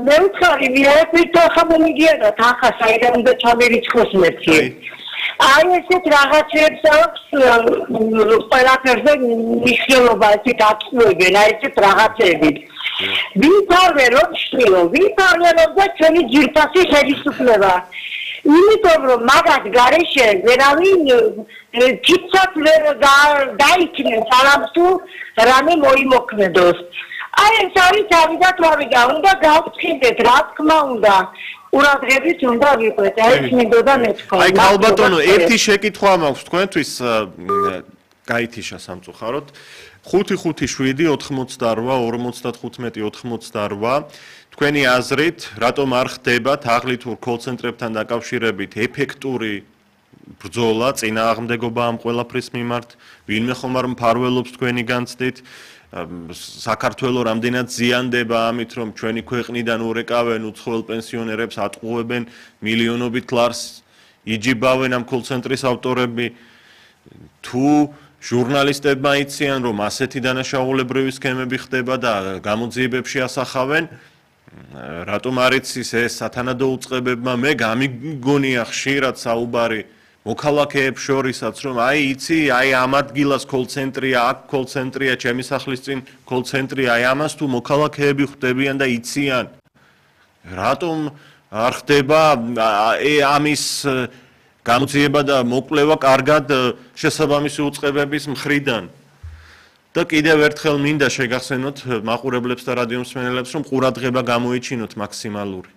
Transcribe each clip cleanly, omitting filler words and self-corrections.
მე ვცარი მიეფით ხამონიგიანად ახლა საიდან უნდა ჩამერიცხოს მეთი. აი ესეთ რაღაცებს აქვს ყველაფერზე მნიშვნელობა ესე დაწუებენ აი ესეთ რაღაცები. ვითარვე რომ შვილო, ვითარვე რომ და ჩვენი ძირფასი ხელისუფლება. იმიტომ რომ მაგათ გარეშე ვერავინ თითქოს ვერ დაიქნეს არამც თუ რამე მოიმოქმედოს. აი ეს არის თავიდან თავიდან უნდა გავწმინდეთ რა თქმა უნდა. ყურადღებით უნდა ვიყვეთ, აი მინდოდა მეთქვა. აი ქალბატონო, ერთი შეკითხვა მაქვს თქვენთვის გაითიშა სამწუხაროდ. 557-88-55-88 თქვენი აზრით, რატომ არ ხდება თაღლითურ კოლცენტრებთან დაკავშირებით ეფექტური ბრძოლა, წინააღმდეგობა ამ ყველაფრის მიმართ, ვინმე ხომ არ მფარველობს თქვენი განცდით? საქართველოს რამდენად ზიანდება ამით, რომ ჩვენი ქვეყნიდან ურეკავენ უცხოელ პენსიონერებს, ატყუებენ მილიონობით ლარს, იჯიბავენ ამ კოლცენტრის ავტორები, თუ ჟურნალისტებმა იციან, რომ ასეთი დანაშაულებრივი სქემები ხდება და გამოძიებებში ასახავენ, რატომ არ იცის ეს სათანადო უწყებებმა, მე გამიგონია ხშირად საუბარი მოქალაქეებს შორისაც, რომ აი იცი, აი ამ ადგილას კოლცენტრია, აქ კოლცენტრია, ჩემი სახლის წინ კოლცენტრია, აი ამას თუ მოქალაქეები ხვდებიან და იციან, რატომ არ ხდება ამის გამოძიება და მოკვლევა კარგად შესაბამისი უწყებების მხრიდან. და კიდევ ერთხელ მინდა შეგახსენოთ მაყურებლებს და რადიომსმენელებს, რომ ყურადღება გამოიჩინოთ მაქსიმალური.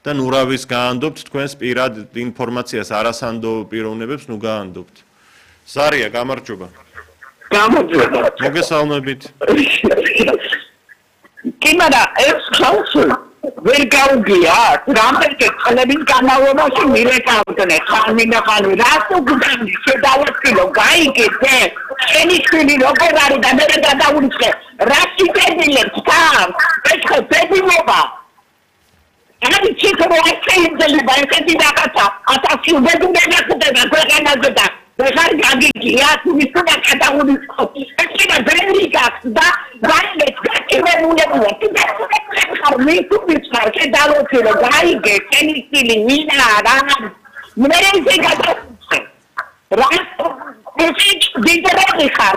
და ნუ რავის გაანდობთ თქვენს პირად ინფორმაციას, არასანდო პიროვნებებს ნუ გაანდობთ. ზარია, გამარჯობა. გამარჯობა. მოგესალმებით. კი, მაგრამ ეს ხალხი ვერ გაუგია, რამდენი წლების განმავლობაში მირეკავდნენ ხანმინდა ხანმი, რას უგდანი შედავასკილო, გაიგეთ, შენი შვილი როგორ არის და მე გადავუწყე, რა შეგედილებს თან, ეხლა ბებიმობა. Ani cifro excelente ba eseti რაღაცა 1000 უბედურება ხდება ქვეყანაზე და ვეღარ გაგიგია თუ მისულა გადაუწყო ეს და ბერნი გაქვს და რაიმეც გაკირებულებია ხარ მისულის ხარ შედალოცილო გაიგე შენი სტილი მინა რა მე ესე გადავუწყე რა ესე დიდრები ხარ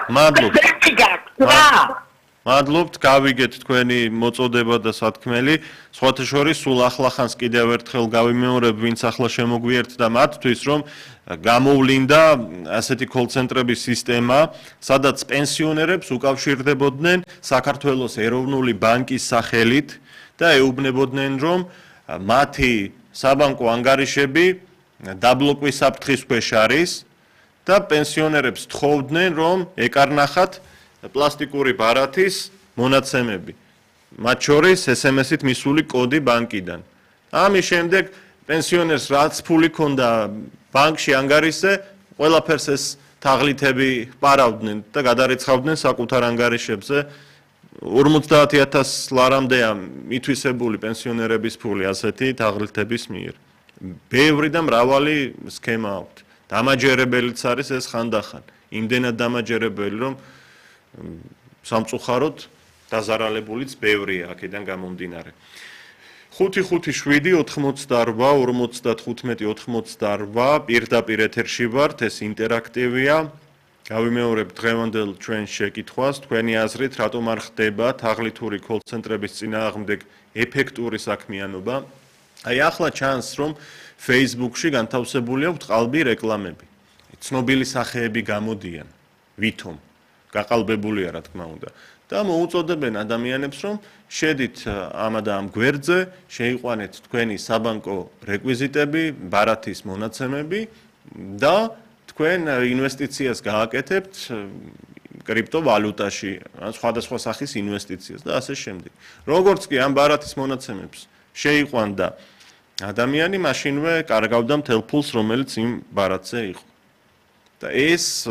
მადლობთ, გავიგეთ თქვენი მოწოდება და სათქმელი. სხვათა შორის სულ ახლახანს კიდევ ერთხელ გავიმეორებ, ვინც ახლა შემოგვიერთდა და მათთვის, რომ გამოვლინდა ასეთი კოლცენტრების სისტემა, სადაც პენსიონერებს უკავშირდებოდნენ საქართველოს ეროვნული ბანკის სახელით და ეუბნებოდნენ, რომ მათი საბანკო ანგარიშები დაბლოკვის საფრთხის ქვეშ არის და პენსიონერებს თხოვდნენ, რომ ეკარნახათ პლასტიკური ბარათის მონაცემები, მათ შორის SMS-ით მისული კოდი ბანკიდან. ამის შემდეგ პენსიონერს რაც ფული ჰქონდა ბანკში ანგარიშზე, ყველაფერს ეს თაღლითები პარავდნენ და გადარიცხავდნენ საკუთარ ანგარიშებზე. 50,000 ლარამდეა მითვისებული პენსიონერების ფული ასეთი თაღლითების მიერ. ბევრი და მრავალი სქემა აქვთ. დამაჯერებელიც არის ეს ხანდახან. იმდენად დამაჯერებელი, რომ სამწუხაროდ დაზარალებულიც ბევრია აქედან გამომდინარე. 558-88-95-88 პირდაპირ ეთერში ვართ, ეს ინტერაქტივია. გავიმეორებ დღევანდელ ჩვენს შეკითხვას, თქვენი აზრით, რატომ არ ხდება თაღლითური კოლცენტრების წინააღმდეგ ეფექტური საქმიანობა? აი ახლა ჩანს, რომ Facebook-ში განთავსებული აქვს ყალბი რეკლამები. ცნობილი სახეები გამოდიან, ვითომ გაყალბებულია რა თქმა უნდა და მოუწოდებენ ადამიანებს რომ შედით ამ და ამ გვერდზე შეიყვანეთ თქვენი საბანკო რეკვიზიტები, ბარათის მონაცემები და თქვენ ინვესტიციას გააკეთებთ კრიპტოვალუტაში, სხვადასხვა სახის ინვესტიციას და ასე შემდეგ. როგორც კი ამ ბარათის მონაცემებს შეიყვანდა ადამიანი, მაშინვე კარგავდა მთელ ფულს, რომელიც იმ ბარათზე იყო. და ეს